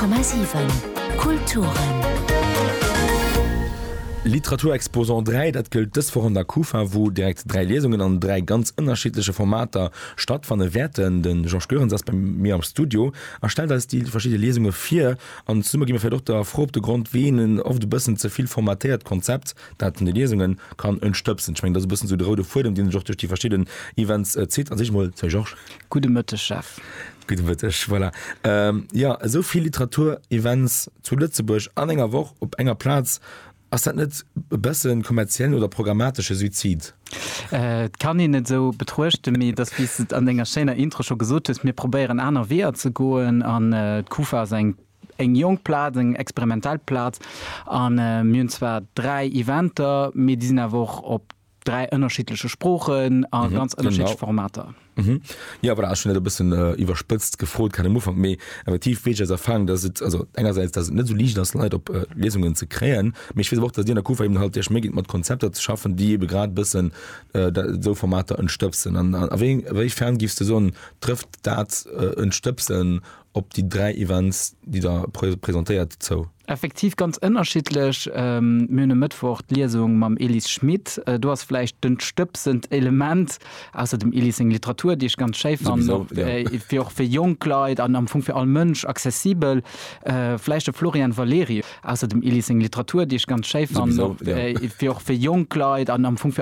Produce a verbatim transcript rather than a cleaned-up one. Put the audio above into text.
Honnert Komma siwen Kulturen. Literaturexposant dräi, dat gëllt dës Woch an der Kufa, wou direkt dräi Liesungen an dräi ganz ënnerschiddleche Formater stattfanne wäerten. De Georges Goerens ass bei mir am Studio a stellt eis déi verschidde Liesunge vir. An zesumme gi mir vläicht och der Fro op de Grond, wéi een en oft e bëssen ze vill formatéiert Konzept, dat vun de Liesungen, kann entstëbsen. Ech mengen, dat ass e bëssen esou de roude Fuedem, deen sech och duerch déi verschidden Events zitt. An sech emol, Salut Georges. Gudde Mëtteg, Jeff. Gudde Mëtteg, voilà. Ähm, jo, esou vill Literaturevents zu Lëtzebuerg an enger Woch op enger Plaz, ass dat net e bëssen kommerziellen oder programmatesche Suizid? Äh, et kann een et esou betruechten, mee et ass, wéi s de et an denger schéiner Intro scho gesot hues, mir probéieren aner Weeër ze goen an d'Kufa ass eng eng jonk Plaz, eng experimentell Plaz an mir hunn zwar dräi Eventer, mee déi sinn awer och op dräi ënnerschiddleche Sproochen a ganz ënnerschiddleche Formater. Mhm. Jo, voilà, ech hunn dat e bëssen iwwerspëtzt gefrot grad am Ufank, mee effektiv weess ech aus Erfahrung, dass et, also engersäits, dass et net esou liicht ass, Leit op Liesungen ze kréien, mee ech weess awer och, dass Dir an der Kufa eben halt Iech Méi gitt, mat Konzepter ze schaffen, déi ebe grad e bëssen esou Formater ëntstëbsen. An a wéi, a wéi fern giffs de soen, trëfft dat Ëntstëbsen op déi dräi Events, déi Der presentéiert, zou? Effektiv ganz ënnerschiddlech. Mir hunn e Mëttwoch d'Liesung mam Elis Schmit. Do ass vläicht den stëbsend Element, ausser dem Elis seng Literatur, déi ech ganz schéi fannen, och fir och fir jonk Leit an am Fong fir all Mënsch accessibel. Vläicht de Florian Valeri, ausser dem Elis seng Literatur, déi ech ganz schéi fannen, och fir och fir jonk Leit an am Fong fir all.